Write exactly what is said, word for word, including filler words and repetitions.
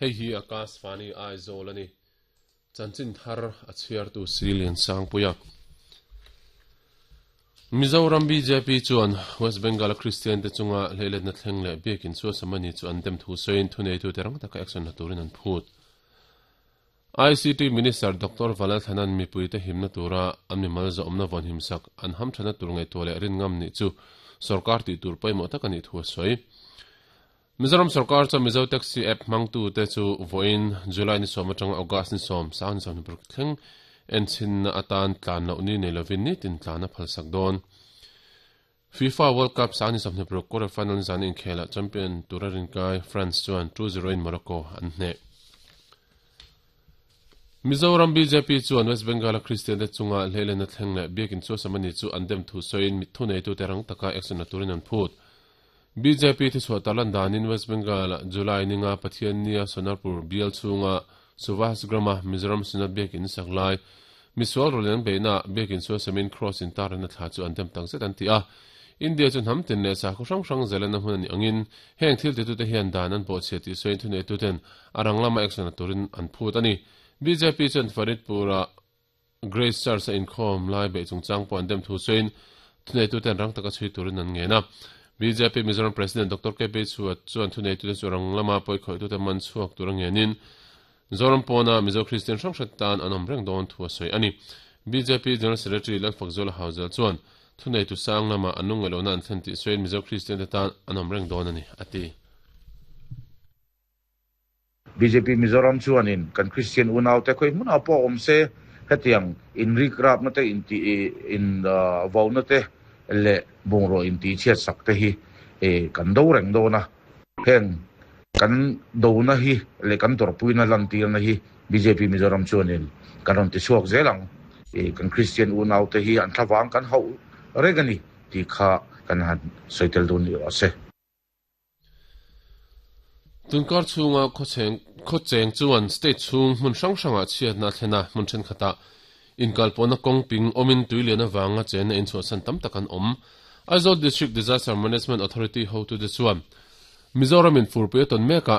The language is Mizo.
Hei hi Akashvani Aizawl a ni. Chanchin thar a chhiartu Silian Sangpuia. Mizoram B J P chuan West Bengal Christian te chunga hleiletna thleng leh biakin chu samani chu an dem thu sawiin thuneitu te rang taka action la turin an phut. I C T Minister Doctor Vanlalthlana'n mipuite himna tura an mimal zawmna vawn himsak an hamthana tur ngai tu leh rin ngam ni chu sarkar ti tur pawimawh tak ani thu a sawi. Mizoram sarkar chu Mizo Taxi app hmangtu te chu voin July ni sawm atanga August ni sawm sang ni sawm ni paruk thleng enchin na atan tlan loh ni nei lovin ni tin tlan a phalsak dawn. FIFA World Cup sang ni sawm ni paruk quarter final zan inkhela champion turarin kai France chuan two zero in Morocco an hne. Mizoram B J P chuan West Bengal Christian te chunga hleilena thleng leh biakin chu samani chu an dem thu sawiin mithu nei tu te rang taka action la turin an phut. B J P thi chhuah talan danin West Bengal July ninga Pathian nia Sonarpur bial chunga Suvas Grama Mizoram Synod biakin saklai misual rolen beina biakin chu samin cross in tarana thla chu an dem tang zet an ti a. India chu hnam tin leh sa khaw hrang hrang zelena hmun ani angin heng thil ti tu te hian dan an pawh chhe ti sawiin thu nei tu ten arang lama action la turin an phut ani. B J P chuan Faridpura Grace Church a inkhawm lai be chungchang pawh an dem thu sawiin thunei tu ten rang taka chhui turin an ngen a. B J P Mizoram President Doctor K P Chuat chuan thunei tu te chu rang lama pawi khawih tu te man chhuak tur a ngenin Zoram pawna Mizo Christian hrang hret tan an awm reng dawn thu a sawi ani. B J P General Secretary Lalfakzuala Hauzel chuan thunei tu sang lama an nung ngelona an thlen tih sawiin Mizo Christian te tan an awm reng dawn ani ati. B J P Mizoram chuanin kan Christian unau te khoi hmun a pawh awm se hetiang in rik rap na te in ti in vo na te le bungraw in ti chhiat sak te hi e kan do reng do na heng kan do na hi le kan torpui na lan tir na hi B J P Mizoram chuanin kan ron ti chhuak zelang e kan Christian unau te hi an thlawang kan hau regani ti kha kan han soitel dun ni ase. Tunkar chunga khocheng khocheng chuan state chung hmun hrang hranga chhiat na thlena hmun then khata inkalpona kong ping omin tuilian awanga chen in chu san tam takan om. Aizawl District Disaster Management Authority ho tu de chuan Mizoram in furpui ton meka.